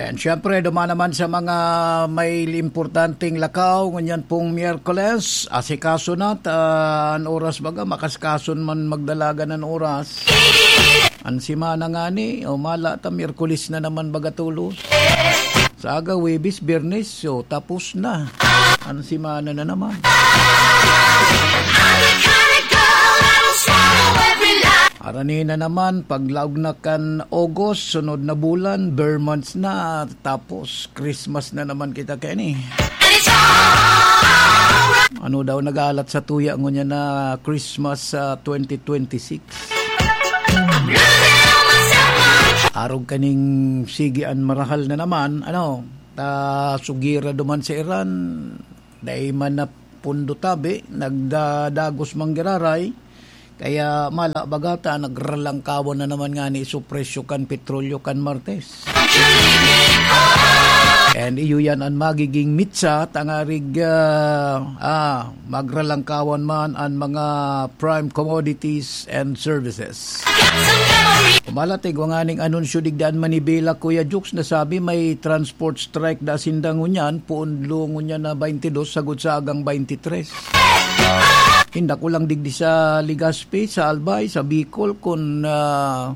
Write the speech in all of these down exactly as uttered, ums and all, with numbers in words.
And syempre, duman naman sa mga may importanteng lakaw, ngunyan pong Miyerkules, asikaso na, ta, an oras baga, makasikason man magdalagan an oras. An semana ngani, o mala ta, Miyerkules na naman baga tulos. Sa aga, Huwebes, Biyernes, so tapos na. An semana na naman. Arani na naman, paglaog na kan August, sunod na bulan, ber months na, tapos Christmas na naman kita keni. Ano daw nagalat sa tuya ngunyan na Christmas sa twenty twenty-six? Arog kaning sige an marahal na naman, ano, ta sugira duman sa Iran, dai man na pundo tabi, nagdadagos man giraray. Kaya mala baga ta, nagralangkawan na naman ngani so presyo kan petrolyo kan Martes. And iyo yan an magiging mitsa, tangarig, ah, ah, magralangkawan man an mga prime commodities and services. Kumalatig, wa nganing anunsyo digdi an Manibela, Kuya Jukes, nasabi may transport strike da sinda ngunyan, poon lo ngunyan na twenty-two, sagod sa agang twenty-three. Inda ko lang digdi sa Legazpi, sa Albay, sa Bicol, kun, ah,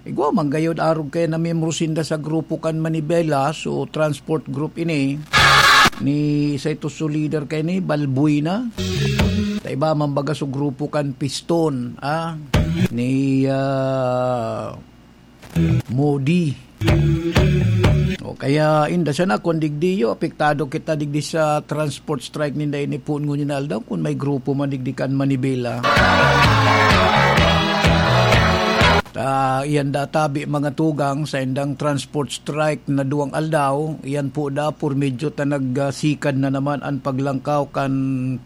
igwa man gayod arog kaya na miyembro sinda sa grupo kan Manibela, so transport group ini. Ni sa ito so leader kay ni Balbuena. Ta iba man baga so grupo kan Piston, ah, ni, ah, Modi. O kaya, inda sana, kun digdi yo, apektado kita digdi sa transport strike ninda ini poon ngunyan na aldaw, kun may grupo man digdi kan Manibela. Ta, iyan da tabi mga tugang sa indang transport strike na duwang aldaw, iyan po da, por medyo ta nagsikad na naman an paglangkaw kan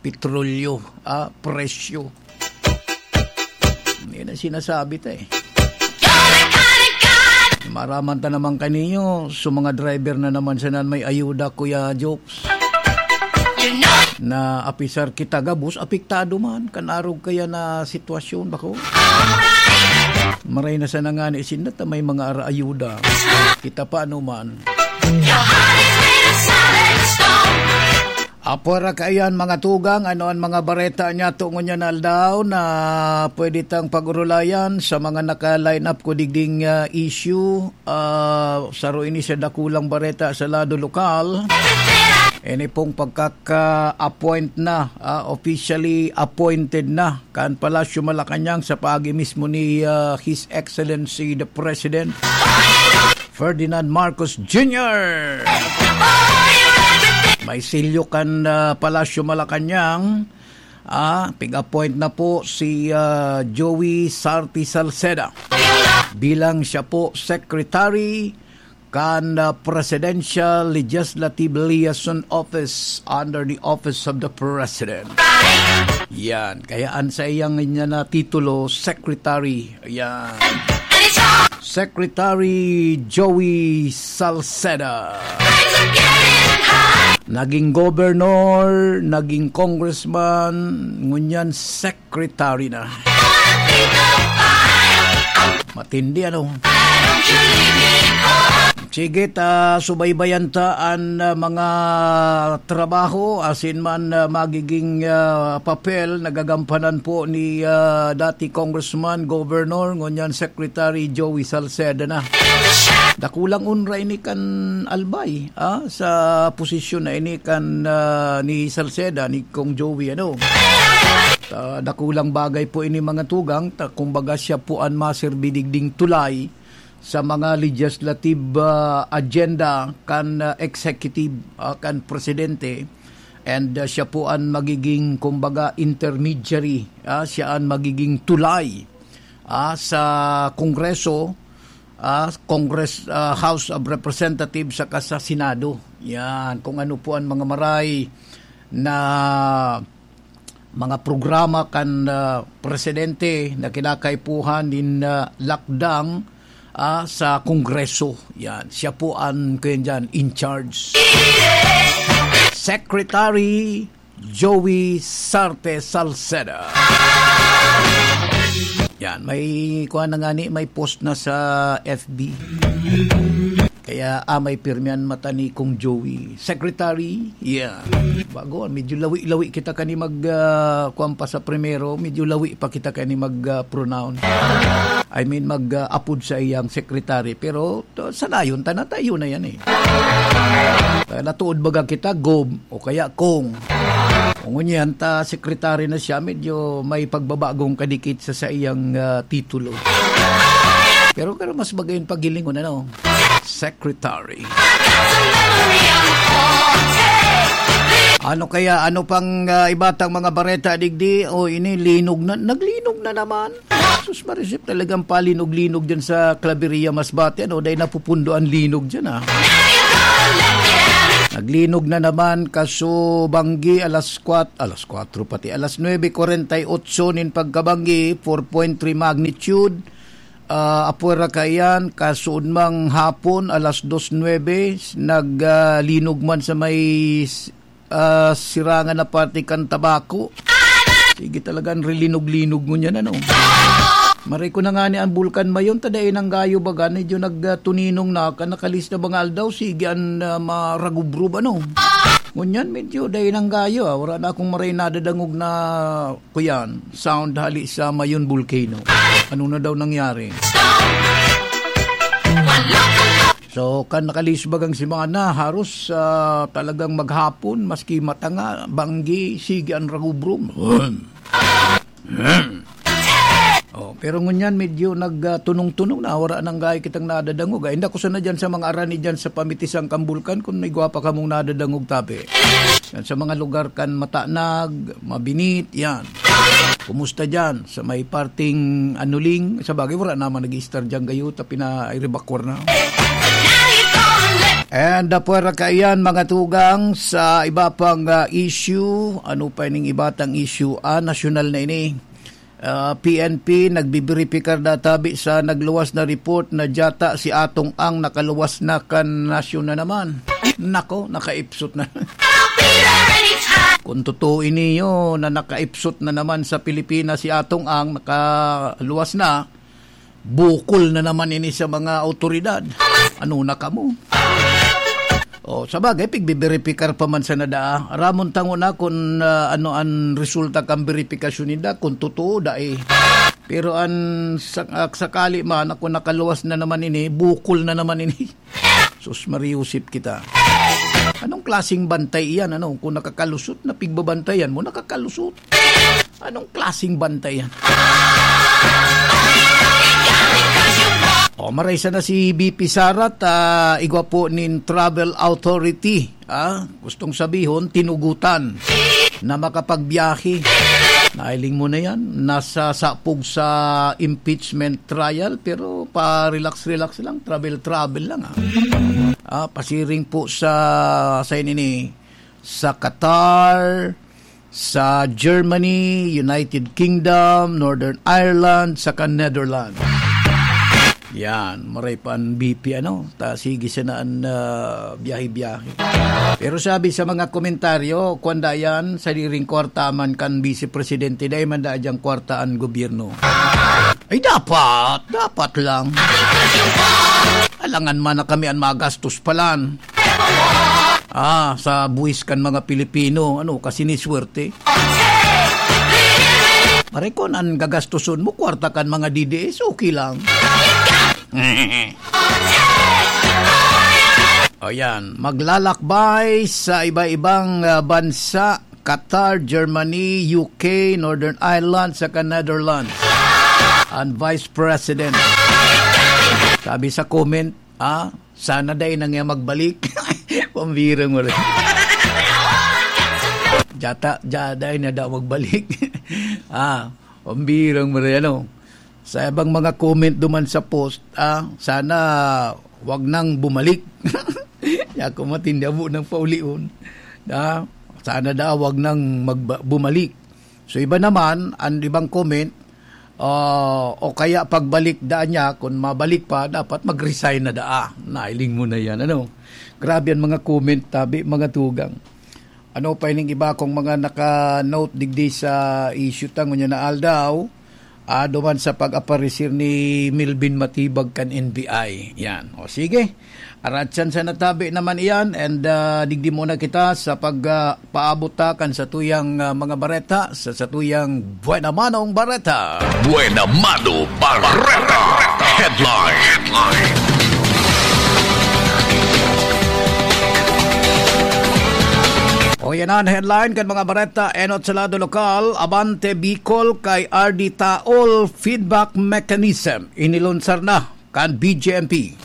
petrolyo, ah, presyo. Yan ang sinasabi ta eh. Maraman ta naman kaninyo, so mga driver na naman sanan may ayuda, Kuya Jokes. Na apisar kita gabos, apektado man, kan arog kaya na sitwasyon, bako? Maray na sana nga ni sinda ta may mga ara-ayuda. Kita pa ano man. Apwera kaiyan, mga tugang, ano an mga bareta niya tungo niya na aldaw na pwede tang pag-urulayan sa mga naka-line up ko digding, ah, issue? Ah, saro ini sa dakulang bareta sa lado lokal. Ini pong pagkaka-appoint na, ah, officially appointed na kan Palasyo Malacañang sa paagi mismo ni, ah, His Excellency the President Ferdinand Marcos Junior. May silyo kan, ah, Palasyo Malacañang. Ah, pig-appoint na po si, ah, Joey Sarti Salceda bilang siya po secretary kan, ah, Presidential Legislative Liaison Office under the Office of the President. Yan. Kaya an sa iyang niya na titulo, secretary. Yan. Secretary Joey Salceda. Naging governor, naging congressman, ngunyan secretary na. Matindi, ano? Sige, ta subaybayan ta an, ah, mga trabaho, asin man, ah, magiging, ah, papel na gagampanan po ni, ah, dati Congressman, Governor, ngunyan Secretary Joey Salceda na. Dakulang onra ini kan Albay, ah, sa posisyon na ini kan, ah, ni Salceda, ni Kong Joey, ano. Ta, dakulang bagay po ini, mga tugang, ta kumbaga siya po an maserbi digding tulay sa mga legislative, ah, agenda kan, ah, executive, ah, kan presidente, and, ah, siya po an magiging, kumbaga, intermediary, ah, siya an magiging tulay, ah, sa Kongreso, ah, Congress, ah, House of Representatives saka sa Senado. Yan, kung ano po an mga maray na mga programa kan, ah, presidente na kinakaipuhan nin, ah, lakdang, ah, sa Kongreso. Yan, siya po an, kuyan dyan, in charge. Secretary Joey Sarte Salceda. Yan, may, kuha na nga ni, may post na sa F B. Kaya amay pirmi an mata ni Kong Joey. Secretary? Yeah. Bago, medyo lawi-lawi kita kani mag, ah, kuwan pa sa primero, medyo lawi pa kita kani mag, ah, pronoun. I mean, mag, ah, apod sa iyang secretary. Pero, to, sanayon ta na, tayo na yan eh. Kaya natuod baga kita, Gob, o kaya Kong. Kung ngunyan ta, secretary na siya, medyo may pagbabagong kadikit sa saiyang, ah, titulo. Pero, pero mas magayon paghilingon, ano? Secretary. Ano kaya? Ano pang, ah, iba tang mga bareta digdi? O, ini, linog na. Naglinog na naman. Sus, Marisip, talagang palinog-linog dyan sa Claveria, Masbate. Ano, dahil napupundo ang linog dyan, ah. Naglinog na naman, kasubanggi, alas kwat-, alas kwatro pati, alas nuebe kwarenta y ocho nin pagkabanggi, four point three magnitude. Ah, apwera kaiyan, kasuodmang hapon, alas dos nuebe, nag, ah, linog man sa may s-, ah, sirangan na parte kan Tabaco. Sige, talagang rilinog-linog ngunyan, ano? Maray ko na nga ni ang Bulkan Mayon, ta dai nang gayo baga, medyo nagtuninong na, kan nakalista mga aldaw, sige, an, ah, maragubrob, ano? Ngunyan, medyo dai nang gayo, ah. Wala na akong maray nadadangog na kuyan, sound hali sa Mayon Volcano. Ano na daw nangyari? So, kan nakalihis bagang semana, haros, ah, talagang maghapon, maski matanga, banggi, sige an ragubrom. Oh, pero ngunyan, medyo nag, ah, tunong-tunong na, wala nang gayo kitang nadadangog. Ay, inda ko sana dyan sa mga arani dyan sa pamitisan kan bulkan, kung may gwapa kamong nadadangog, tabi. Yan sa mga lugar kan Matanag, Mabinit, yan. Kumusta dyan? Sa may parting Anuling, sa bagay, wala naman nag-i-star dyan gayo, ta pina-, ay, rebakwar na. And, uh, pwera kaiyan, mga tugang, sa iba pang, uh, issue. Ano pa ining iba tang issue? Ah, nasyonal na ini. Ah, P N P, nagbibiripikar na tabi sa nagluwas na report na dyata si Atong Ang nakaluwas na kan nasyon na naman. Nako, nakaipsot na. Kung totoo ini yun, na nakaipsot na naman sa Pilipinas si Atong Ang, nakaluwas na, bukol na naman ini sa mga awtoridad. Ano na kamo? Oh, sa bagay, pigbiberipikar pa man sana daa. Ramon tango na kung, ah, ano an resulta kan beripikasyon ninda, kung totoo, dai. Pero an sa-, ah, sakali man, ako nakaluwas na naman ini, bukol na naman ini. Sus, mariusip kita. Anong klaseng bantay iyan, ano? Kung nakakalusot na pigbabantayan mo, nakakalusot. Anong klaseng bantay yan? O, maray sana si B P Sara ta igwa po nin travel authority. Ah, gustong sabihon, tinugutan na makapagbiyahe. Nailing mo na yan. Nasa sapog sa impeachment trial, pero pa-relax-relax lang, travel-travel lang, ah. Ah, pasiring po sa, sa ini, sa Qatar, sa Germany, United Kingdom, Northern Ireland, saka Netherlands. Yan, maray pa an B P, ano? Ta, sige sana an, ah, biyahe-biyahe. Pero sabi sa mga komentaryo, kwan da yan, sadiring kwarta man kan Vice Presidente, dai man da dyang kwarta an gobyerno. Ay, dapat, dapat lang. Alangan man na kami an magastos palan. Ah, sa buwis kan mga Pilipino, ano, kasi ni swerte. Pare, kun an gagastoson mo, kwarta kan mga D D S, okay lang. O yan, maglalakbay sa iba-ibang, ah, bansa, Qatar, Germany, U K, Northern Ireland, saka Netherlands. Ang Vice President. Sabi sa comment, ah, sana dai na nga magbalik. Pambirang mo rin. Jata, ja, dai na daw magbalik. Ah, pambirang mo rin, ano? Sa ibang mga comment duman sa post, ah, sana wag nang bumalik. Ako matindi, abo nang paulion. Ah, sana daw wag nang magba-, bumalik. So, iba naman, ang ibang comment, ah, o kaya pagbalik daan niya, kung mabalik pa, dapat mag-resign na daa. Nailing mo na yan, ano? Grabe ang mga comment, tabi, mga tugang. Ano pa ining iba kong mga naka-note digdi sa issue ta ngunyan na aldaw? Ah, duman sa pag-aparecer ni Melvin Matibag kan N B I. Yan. O sige. Aratsan sa natabi naman iyan, and, ah, digdi muna kita sa pag, ah, paabot ta kan satuyang, ah, mga bareta, sa satuyang Buena Manong Bareta. Buena Mano Bareta. Headline. Headline. O, yan ang headline kan mga bareta. Enot sa lado lokal, Abante Bicol kay R D Taol feedback mechanism. Inilunsar na kan B J M P.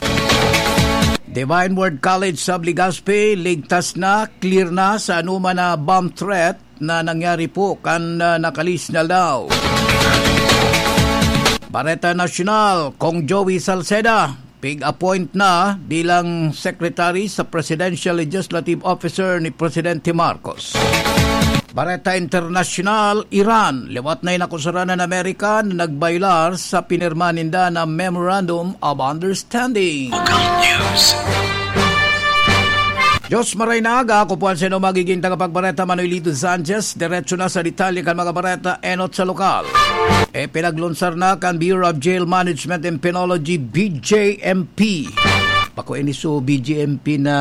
Divine Word College sa Legazpi, ligtas na, clear na sa anuman na bomb threat na nangyari po kan, ah, nakalis na aldaw. Bareta Nasyonal, Cong Joey Salceda, pig-appoint na bilang secretary sa Presidential Legislative Officer ni Presidente Marcos. Bareta Internasyonal, Iran, liwat na inakusaran an Amerika na nagbayular sa pinirma ninda na Memorandum of Understanding. Local News. Diyos maray na aga, ako po ang sino magiging tagapagbareta, Manuelito Sanchez. Diretso na sa detalye kan mga bareta, enot sa lokal. E, pinaglunsar na kan Bureau of Jail Management and Penology, B J M P. Bako ini so B J M P na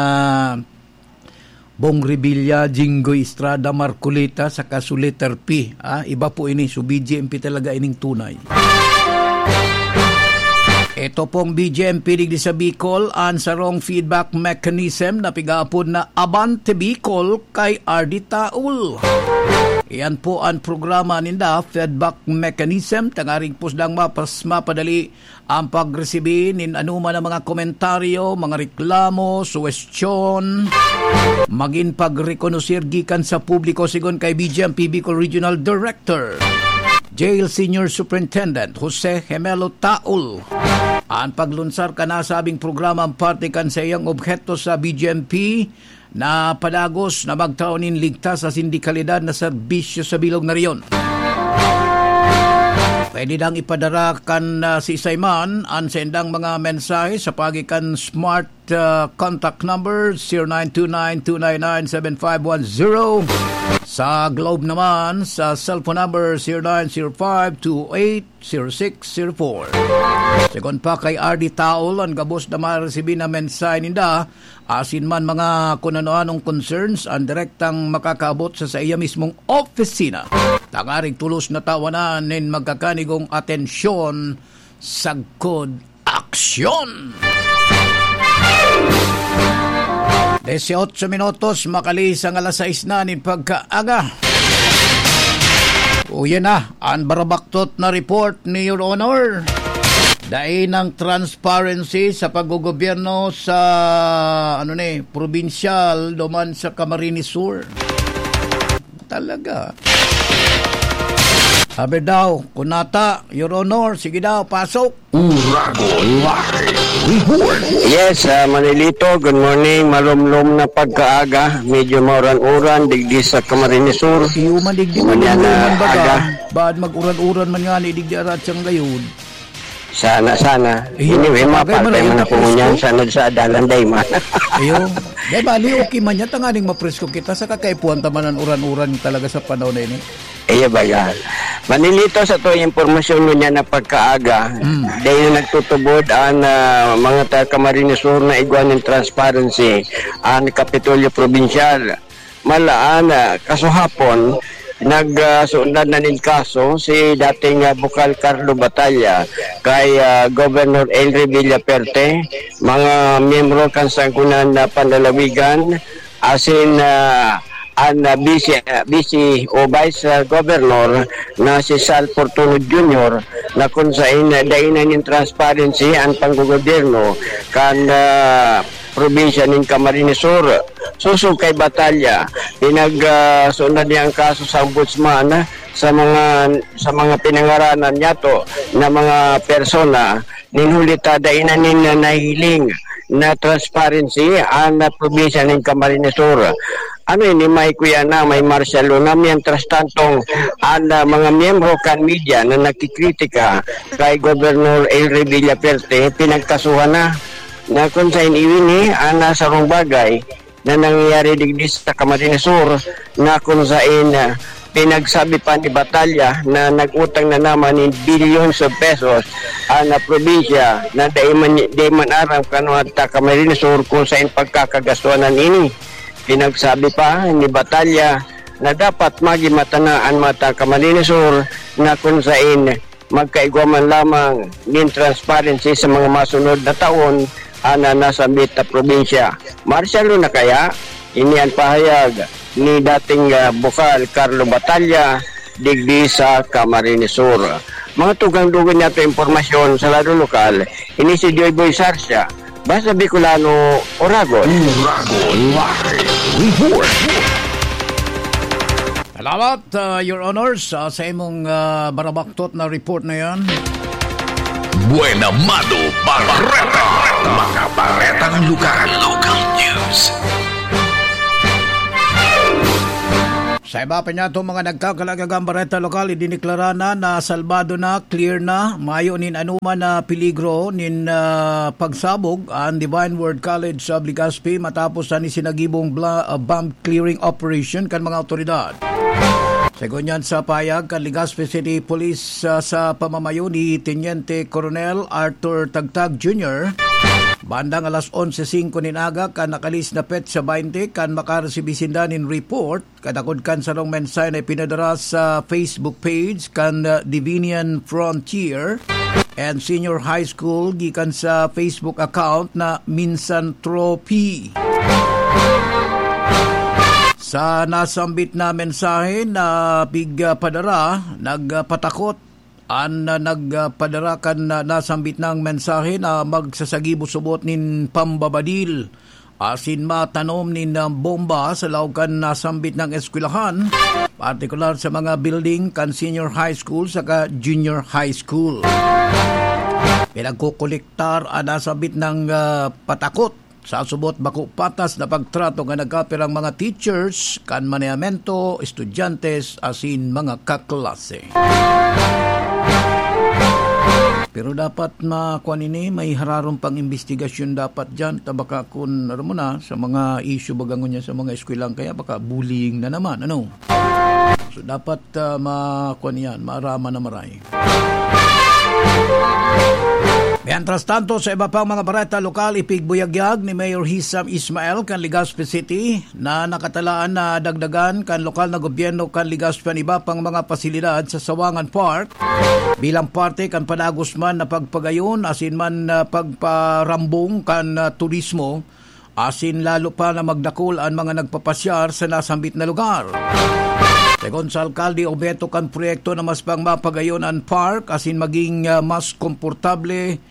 Bong Revilla, Jinggoy Estrada, Marcoleta, saka so letter P. Ah, iba po ini. So, B J M P talaga ining tunay. Ito pong B J M P digdi sa Bicol, an sarong feedback mechanism na pigaapod na Abante Bicol kay R D Taul. Iyan po an programa ninda, feedback mechanism, tangaring pusdang mapas mapadali ang pagresibi nin anoman na mga komentaryo, mga reklamo, suwestyon, magin pagrekonosir gikan sa publiko, sigon kay B J M P Bicol Regional Director, Jail Senior Superintendent Jose Gemelo Taul. An paglunsar kan nasabing programa an parte kan saiyang obheto sa B J M P na padagos na magtao nin ligtas asin de kalidad na serbisyo sa bilog na rehiyon. Pwede nang ipadara kan, ah, siisay man an saindang mga mensahe sa paagi kan smart, ah, contact number zero nine two nine two nine nine seven five one zero. Sa Globe naman, sa cellphone number zero nine zero five two eight zero six zero four. Sigon pa kay R D Taol, an gabos na maresibi na mensahe ninda, asin man mga kun ano-anong concerns, an direktang makakaabot sa saiya mismong opisina. Tangaring tolos na tawanan nin magkakanigong atensyon, sagkod aksyon. Dieciocho minutos, makalihis an alas sais na nin pagkaaga. Uya na an barabaktot na report ni Your Honor. Dai nang transparency sa paggogobyerno sa, ano ni, probinsyal duman sa Camarines Sur. Talaga. Sabi daw, kunata, Your Honor, sige daw, pasok. Uragon Live Report. Yes, ah, Manilito, good morning. Malumlom na pagkaaga. Medyo mauran-uran, digdi sa Camarines Sur. Iyo man, digdi man, Manyan na uran, baga. Aga. Baad mag-uran-uran man nga ni, digdi arat siyang gayon. Sana, sana. Iyo, anyway, sabagay, mapalpay man, man ako ngunyan, sana sa adalan, day man. Iyo. Day, bali, okay man yan, tanganing mapresko kita, sa kakaipuhan ta man an uran-uran talaga sa panahon na ini. Iyo ba yan? Manilito sa to impormasyon mo niya na pagkaaga, Mm. dahil nagtutubod ang, ah, mga taga Camarines Sur na igwa nin transparency ang Kapitolyo Probinsyal. Malaan, ah, kasuhapon, nag, ah, suundan na nin kaso si dating, ah, Bukal Carlo Batalla kay, ah, Governor Henry Villaperte, mga miyembro kan Sangguniang Panlalawigan, asin, ah, an, ah, Vice, ah, Vice o Vice, ah, Governor na si Sal Fortuno Junior, na kun sain, ah, dai na nin transparency an panggogobyerno kan, ah, probinsya nin Camarines Sur. Sosog kay Batalla, pinag, ah, suundan niya an kaso sa ombudsman, ah, sa mga, sa mga pinangaranan niyato na mga persona. Nin huli ta, dai na nin nahihiling na transparency an, ah, probinsya nin Camarines Sur. Ano ini, may kuya na, may martial law na. Mientras tantong, an, ah, mga miyembro kan media na nakikritika kay Governor Henry Villaperte, pinagkasuhan na, na kun sain iwini an, ah, sarong bagay na nangyayari digdi sa Camarines Sur, na kun sain, ah, Pinagsabi pa ni Batalla na nag-utang na naman nin billions of pesos ang probinsya na dai man, dai man aram kan Camarines Sur kung saen pagkakagastuanan ini. Pinagsabi pa ni Batalla na dapat magimata na an mga taga Camarines Sur na kun saen magkaigwa man lamang nin transparency sa mga masunod na taon ana nasambit na probinsya. Marshal na kaya? Ini an pahayag ni dating, ah, bukal Carlo Batalla digdi sa Camarines Sur. Mga tugang-dugang niya to impormasyon sa lado lokal, ini si Joy Boy Sarsia, Basta Bicolano, Oragon. Oragon Live Report. Salamat, ah, Your Honors, ah, sa imong, ah, barabaktot na report na yan. Buena Mano Bareta. Mga baretang lugar. Local news. Sa iba pa niya, itong mga nagkakalagagang bareta lokal, idineklara na na salbado na, clear na, mayo nin anuman na peligro nin, ah, pagsabog ang Divine Word College of Legazpi matapos an isinagibong bla-, ah, bomb clearing operation kan mga awtoridad. Segun yan sa pahayag kan Legazpi City Police, ah, sa pamamayo ni Teniente Coronel Arthur Tagtag Junior, bandang alas onse singko nin aga kan nakalis na petsa baynte kan makaresibi sinda nin report, kadakod kan sarong mensahe na ipinadara sa Facebook page kan, ah, Divinian Frontier and Senior High School gikan sa Facebook account na Minsan Trophy. Sa nasambit na mensahe na pigpadara, nagpatakot an, ah, nagpadara kan, ah, nasambit nang mensahe na magsasagibo subot nin pambabadil asin matanom nin, ah, bomba sa laog kan nasambit nang eskwelahan, partikular sa mga building kan senior high school saka junior high school. Pinagkukolektar an nasambit nang, ah, patakot sa subot bako patas na pagtrato nga nagkapirang mga teachers kan manehamentu, estudyantes asin mga kaklase. Pero dapat makuan ini, may hararom pang imbestigasyon dapat diyan. Ta baka kun, aram mo na, sa mga issue baga ngunyan sa mga eskwelahan, kaya baka bullying na naman, ano? So, dapat, ah, makuan yan, maaraman na maray. Mientras tanto, sa iba pang mga bareta lokal, ipigbuyagyag ni Mayor Hisam Ismael kan Legazpi City na nakatalaan na dagdagan kan lokal na gobyerno kan Legazpi an iba pang mga pasilidad sa Sawangan Park bilang parte kan padagos man na pagpagayon asin man na pagparambong kan, ah, turismo asin lalo pa na magdakul an mga nagpapasyar sa nasambit na lugar. Segun sa alkalde, obheto kan proyekto na mas pang mapagayon an park asin maging, ah, mas komportable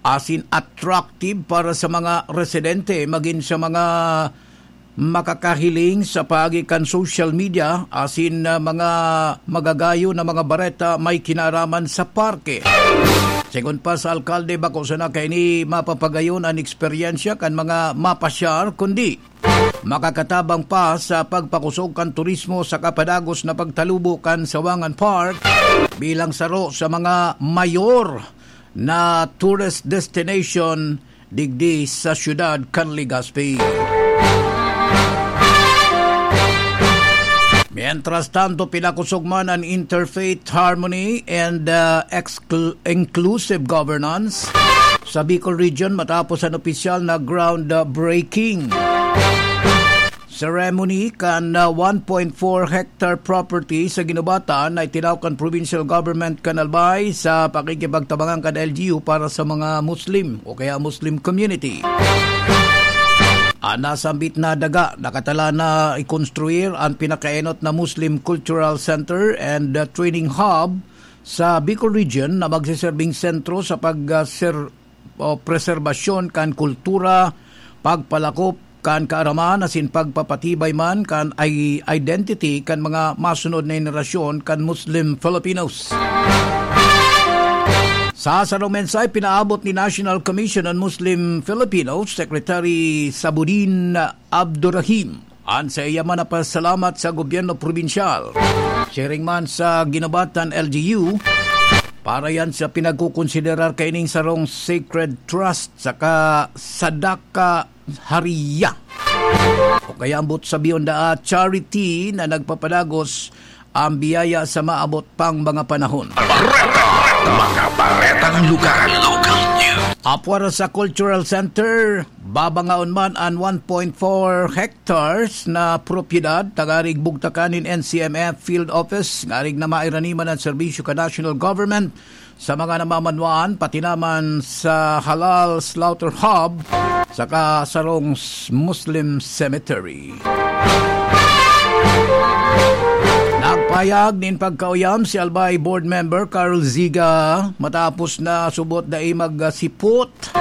asin attractive para sa mga residente, magin sa mga makakahiling sa paagi kan social media asin, ah, mga magagayon na mga bareta may kinaraman sa parke. Segun pa sa alkalde, bako sana kaini mapapagayon an eksperyensya kan mga mapasyar, kundi makakatabang pa sa pagpakusog kan turismo sa kapadagos na pagtalubo kan Sawangan Park bilang saro sa mga mayor na tourist destination digdi sa siyudad kan Legazpi. Mientras tanto, pinakusog man an interfaith harmony and, uh, exclu-, inclusive governance sa Bicol Region matapos an opisyal na groundbreaking ceremony kan, uh, one point four hectare property sa Guinobatan na itinaw kan provincial government kan Albay sa pakikipagtabangan kan L G U para sa mga Muslim o kaya Muslim community. An nasambit na daga nakatala na ikonstruir an pinakaenot na Muslim Cultural Center and, uh, Training Hub sa Bicol Region na magseserbing sentro sa pag, uh, ser-, o preserbasyon kan kultura, pagpalakop kan kaaraman asin pagpapatibay man kan i-, identity kan mga masunod na henerasyon kan Muslim Filipinos. Sa sarong mensahe pinaabot ni National Commission on Muslim Filipinos Secretary Sabudin Abdurrahim an saiya man na pasalamat sa gobyerno probinsyal, siring man sa Guinobatan L G U, para yan sa pinagkukonsiderar kaining sarong sacred trust saka sadaka hariya, o kaya ambot sabihon daa charity na nagpapadagos ang biyaya sa maabot pang mga panahon. Bareta, mga baretang lugar. Local news. Apwera sa Cultural Center, babangaon man an one point four hectares na propiedad, tangarig bugtakan nin N C M F Field Office, ngarig na mairaniman an serbisyo kan national government sa mga namamanwaan, pati naman sa Halal Slaughter Hub, saka sarong s-, Muslim Cemetery. Nagpayag nin pagkauyam si Albay Board Member Carl Ziga matapos na subot dai magsipot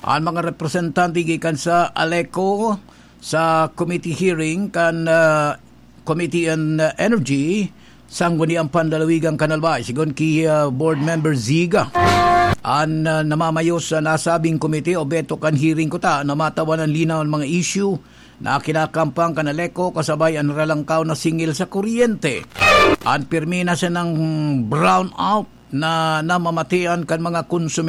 an mga representante gikan sa ALECO sa committee hearing kan, ah, Committee on, ah, Energy, Sangguniang Panlalawigan kan Albay. Sigon ki, ah, Board Member Ziga, an, ah, namamayo sa nasabing komite obheto kan hearing kuta na matawan an linaw an mga isyu na kinakampang kan ALECO kasabay an ralangkaw na singil sa kuryente. An pirmi na sanang brownout na namamatian kan mga konsumidor